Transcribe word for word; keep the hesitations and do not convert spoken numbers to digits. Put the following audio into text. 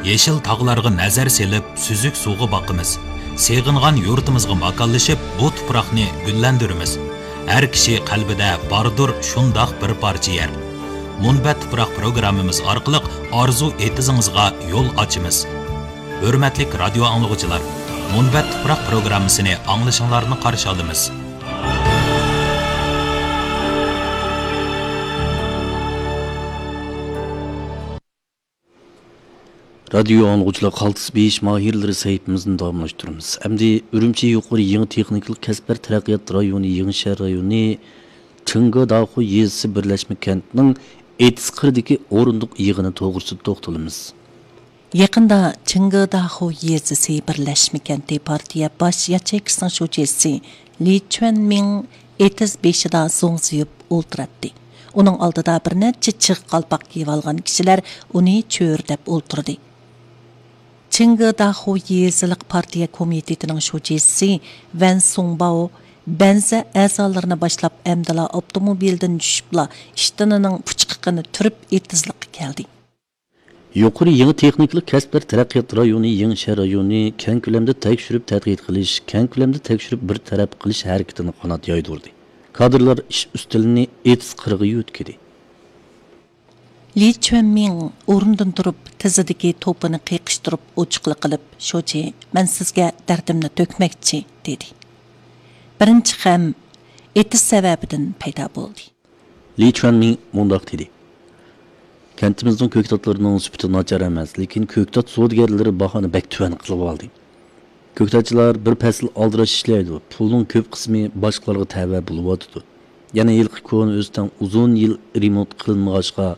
يېشىل تاغلارغا نەزەر سېلىپ، سۈزۈك سۇغا باقىمىز. سېغىنغان يۇرتىمىزغا ماكانلىشىپ، بۇ تۇپراقنى گۈللەندۈرىمىز. ھەر كىشى قەلبىدە باردۇر شۇنداق بىر پارچە يەر. مۇنبەت تۇپراق پروگراممىمىز ئارقىلىق ئارزۇ ئېتىزىڭىزغا يول ئاچىمىز. ھۆرمەتلىك رادىيو ئاڭلىغۇچىلار، مۇنبەت تۇپراق پروگراممىسىنى ئاڭلىشىڭلارنى قارشى ئالىمىز. رادىيو ئاڭلىغۇچىلار، قالتىس بېيىش ماھىرلىرى سەھىپىمىزنى داۋاملاشتۇرىمىز. ئەمدى ئۈرۈمچى يۇقىرى يېڭى تېخنىكىلىق كەسىپلەر تەرەققىيات رايونى يېڭى شەھەر رايونى چىڭگېداخۇ يېزىسى بىرلەشمە كەنتىنىڭ ئېتىز قىرىدىكى ئورۇندۇق يىغىنى توغرىسىدا توختىلىمىز. يېقىندا چىڭگېداخۇ يېزىسى بىرلەشمە كەنتى پارتىيە باش ياچېيكىسىنىڭ شۇجىسى لى چۈەنمىڭ ئېتىز بېشىدا زوڭزىيىپ ئولتۇراتتى. ئۇنىڭ ئالدىدا بىر نەچچە چىغ قالپاق كىيىۋالغان كىشىلەر ئۇنى چۆرىدەپ ئولتۇردى. چىڭگېداخۇ يېزىلىق پارتىيە كومىتېتىنىڭ شۇجىسى ۋەن سۇڭباۋ بەنزە ئەزالىرىنى باشلاپ، ئەمدىلا ئاپتوموبىلدىن چۈشۈپلا، ئىشتىنىنىڭ پۇچقىقىنى تۈرۈپ، ئېتىزلىققا كەلدى. يۇقىرى يېڭى تېخنىكىلىق كەسىپلەر تەرەققىيات رايونى يېڭى شەھەر رايونى كەڭ كۆلەمدە تەكشۈرۈپ تەتقىق قىلىش، كەڭ كۆلەمدە تەكشۈرۈپ بىر تەرەپ قىلىش ھەرىكىتىنى قانات يايدۇردى. كادىرلار ئىش ئۈستىلىنى ئېتىز قىرىغا يۆتكىدى. لى چۈەنمىڭ ئورنىدىن تۇرۇپ، تىزىدىكى توپىنى قېقىشتۇرۇپ ئوچۇقلا قىلىپ، شۇجى، مەن سىزگە دەردىمنى تۆكمەكچى، دېدى. بىرىنچى غەم ئېتىز سەۋەبىدىن پەيدا بولدى. لى چۈەنمىڭ مۇنداق دېدى: كەنتىمىزنىڭ كۆكتاتلىرىنىڭ سۈپىتى ناچار ئەمەس، لېكىن كۆكتات سودىگەرلىرى باھانى بەك تۆۋەن قىلىۋالدى. كۆكتاتچىلار بىر پەسىل ئالدىراش ئىشلەيدۇ، پۇلنىڭ كۆپ قىسمى باشقىلارغا تەۋە بولۇۋاتىدۇ. يەنە ھېلىقى كونا ئۆستەڭ ئۇزۇن يىل رېمونت قىلىنمىغاچقا،